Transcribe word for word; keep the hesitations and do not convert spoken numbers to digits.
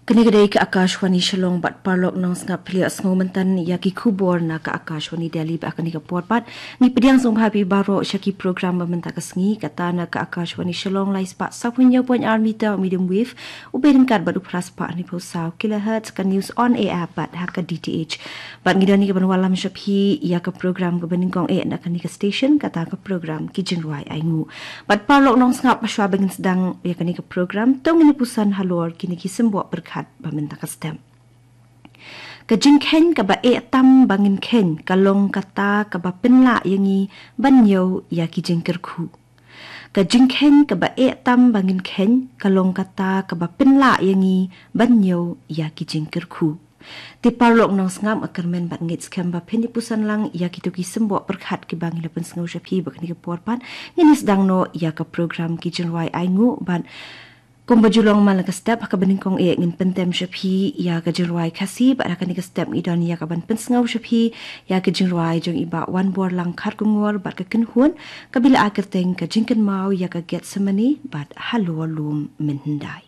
Kane ka dei ka Akashvani Shillong bad paralok nongsngap phi ïa sngew mynta ïa ki khubor na ka Akashvani Delhi. Bad ha kane ka por pat ngi pdiang sngewbha ïa phi baroh sha ki program ba mynta ka sngi, kata na ka Akashvani Shillong lai spah saw phew hynñiew point ar meter medium wave, u beit ryngkat bad u phra spah hynñiew phew saw kilohertz, ka News on Air bad ha ka D T H. Bad ngi don ïa ka ban wallam sha phi ïa ka program kaba nyngkong eh na kane ka station, kata ka program Ki Jingrwai Ainguh. Bad paralok nongsngap, hashwa ba ngin sdang ïa kane ka program, to ngin ïa puson halor kine ki symboh pyrkhat ba mynta ka step. Ka jingkheiñ kaba eh tam ba ngin kheiñ ka long kata kaba pynlah ïa ngi ban ñiew ïa ki jingkyrkhu. Ka jingkheiñ kaba eh tam ba ngin kheiñ ka long kata kaba pynlah ïa ngi ban ñiew ïa ki jingkyrkhu. Te paralok nongsngap, nga kyrmen bad ngeit skhem ba phin ïa puson lang ïa kito ki symboh pyrkhat kiba ngi la pynsngew sha phi. Bad ha kane ka por pat ngin ïa sdang noh ïa ka program Ki Jingrwai Ainguh bad kumba ju long man la ka step, ha kaba nyngkong eh ngin pyntem sha phi ïa ka jingrwai Khasi, bad ha kane ka step ngi don ïa ka ban pynsngew sha phi ïa ka jingrwai jong i Bah Wanborlang Kharkongor bad ka kynhun kaba la ai kyrteng Ka Jingkynmaw ïa ka Gethsemane bad Halor Lum Mynhyndai.